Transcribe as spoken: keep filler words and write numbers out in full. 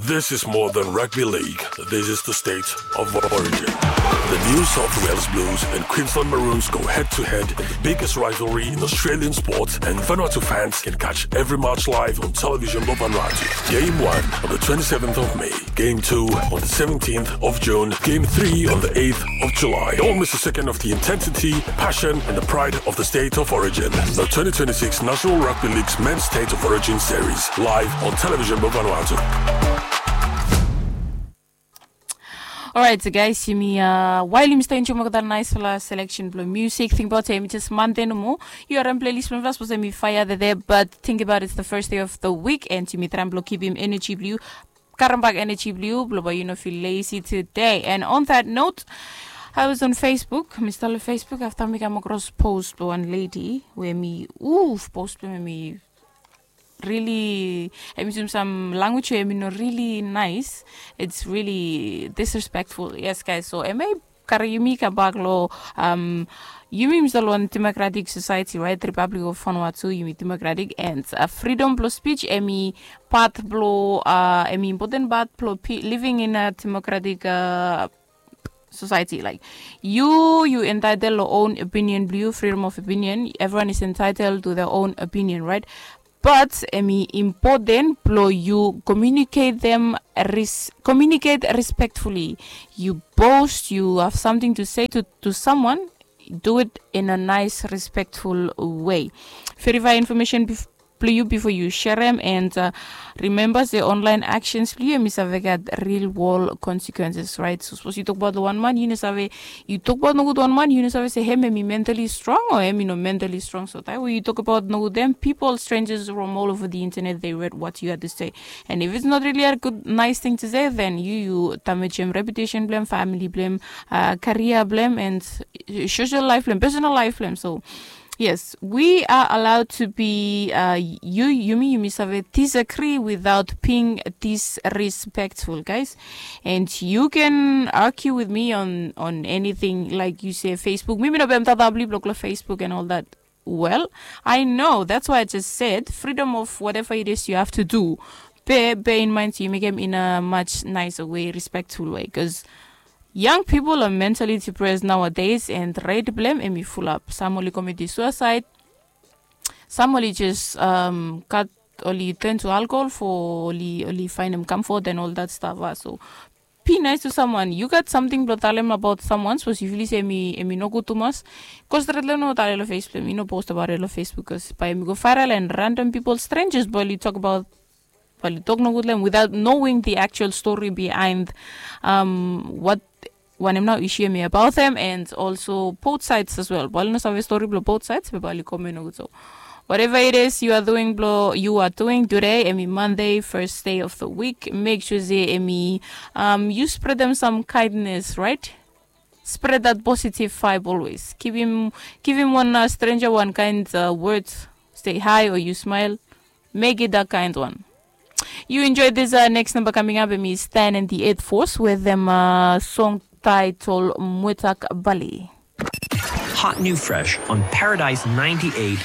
This is more than rugby league. This is the state of origin. The new South Wales Blues and Queensland Maroons go head-to-head in the biggest rivalry in Australian sport, and Vanuatu fans can catch every match live on Television Vanuatu. Game one on the twenty-seventh of May. Game two on the seventeenth of June. Game three on the eighth of July. Don't miss a second of the intensity, passion, and the pride of the state of origin. The twenty twenty-six National Rugby League's Men's State of Origin Series, live on Television Vanuatu. Alright, so guys, yumi uh, while yumi stay enjoy olgeta naisfala selection blong music, think about yumi just Monday nomo. Yu harim playlist blong us, yumi fire dede, but think about it's the first day of the week, and yumi traem blong kipim energy blong yu, karem bak energy blong yu, blong bae yu no feel lazy today. And on that note, I was on Facebook, mi stap long Facebook afta mi kam across post blong wan lady we hemi, uf, post blong hemi really, hemi yusum sam language we hemi no really nice. It's really disrespectful. Yes, guys. So hemi karem yumi kam bak long, um, yumi yumi stap long wan democratic society, right? Republic of Vanuatu, yumi democratic, and uh, freedom blong speech hemi part blong, uh, hemi important part blong pe- living in a democratic uh, society. Like, yu yu entitled long own opinion blong yu, freedom of opinion. Everyone is entitled to their own opinion, right? But hemi important blong yu communicate them res- communicate respectfully. Yu post, yu have something to say to, to someone, do it in a nice, respectful way. Verify information bef- blong yu before yu sharem, and uh, remember se online actions blong yu hemi save gat real world consequences, right? So sapos yu tokbaot long wan man, yu no save, yu tokbaot nogud wan man, yu no save se hem hemi mentally strong o hemi no mentally strong. So taem we yu tokbaot nogud dem, people, strangers roam all over the internet, they read what you had to say. And if it's not really a good, nice thing to say, then yu yu damage him reputation blong him, family blong him, uh, career blong him, and uh, social life blong him, personal life blong him. So yes, we are allowed to be uh, yu yumi yumi save disagree without being disrespectful, guys. And you can argue with me on on anything, like you say, Facebook. Mi mi no bae mi tata blong yu blong go long Facebook and all that. Well, I know, that's why I just said freedom of whatever it is you have to do. Be bear in mind yu mekem in a much nicer way, respectful way, because young people are mentally depressed nowadays, and rate blong hem hemi fulap. Sam oli commit suicide, sam oli just um, gat, oli turn to alcohol for oli oli findem comfort and all that stuff. Uh. So be nice to someone. Yu gat something blong talem about someone, sapos yu feel se hemi hemi nogud tumas, go stret long hem, no talem long Facebook. Yu no post about it long Facebook, because bae hemi go viral and random people, strangers, bae oli tokbaot, bae oli tok nogud long hem without knowing the actual story behind um, what wanem nao issue hemi about them, and also both sides as well. Bae oli no save story blong both sides, be bae oli komen nogud. So whatever it is you are doing blong you are doing today, hemi Monday, first day of the week, make sure se hemi um, yu spread them some kindness, right? Spread that positive vibe always. Give him give him one uh, stranger one kind uh, word. Say hi or you smile. Make it that kind one. You enjoy this uh, next number coming up. Hemi Stan and the Eight Force with them uh, song title Muetak Bali. Hot new fresh on Paradise ninety-eight.